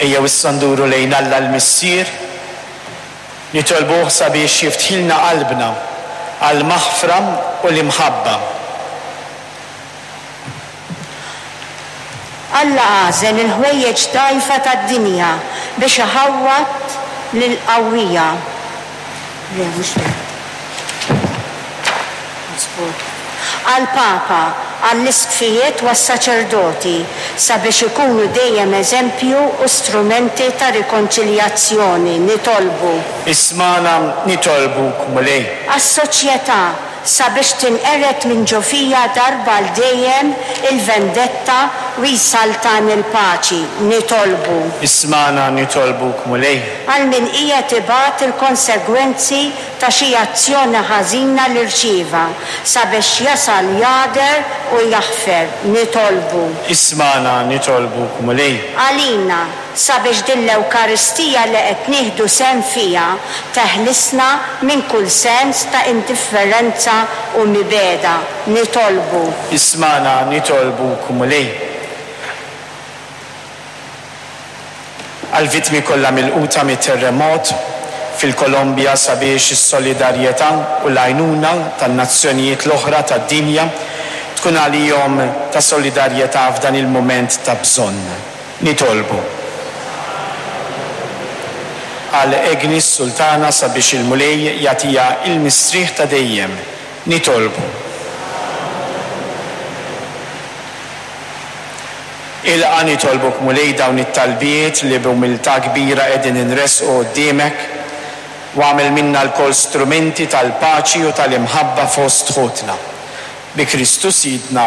Ejjew issa nduru lejn Alla l-Missier, nitolbuh sabiex jiftħilna qalbna għall-maħfra u l-imħabba. Alla għażel il-ħwejjeġ dgħajfa tad-dinja biex iħawwad lill-qawwija. Le, mhux hekk. Miżbut. Għall-Papa, għall-Isqfijiet u għas-saċerdoti, sabiex ikunu dejjem eżempju u strumenti ta' rikonċiljazzjoni, nitolbu. Ismagħna, nitolbuk, Mulej. Għas-soċjetà, sabiex tinqered minn ġo fija darba għal dejjem il-vendetta u jsaltan il-paċi, nitolbu. Ismagħna, nitolbuk, Mulej. Għal min qiegħed ibati l-konsegwenzi ta' xi azzjoni ħażina li rċieva, sabiex jasal jagħder u jaħfer, nitolbu. Ismagħna, nitolbuk, Mulej. Għalina, sabiex din l-Ewkaristija li qed nieħdu sehem fiha teħlisna minn kull sens ta' indifferenza u mibegħda, nitolbu. Ismagħna, nitolbuk, Mulej. Għall-vittmi kollha milquta mit-terremot fil-Kolombja sabiex is-solidarjetà u l-għajnuna tan-nazzjonijiet l-oħra tad-dinja tkun għalihom ta' solidarjetà f'dan il-mument ta' bżonn. Nitolbu. Għal Agnes Sultana sabiex il-Mulej jagħtiha il-mistrieħ ta' dejjem. Nitolbu. Ilqa' nitolbuk Mulej dawn it-talbiet li b'umiltà kbira qegħdin inressqu quddiemek u agħmel minna lkoll strumenti tal-paċi u tal-imħabba fost ħutna. Bi Kristu Sidna.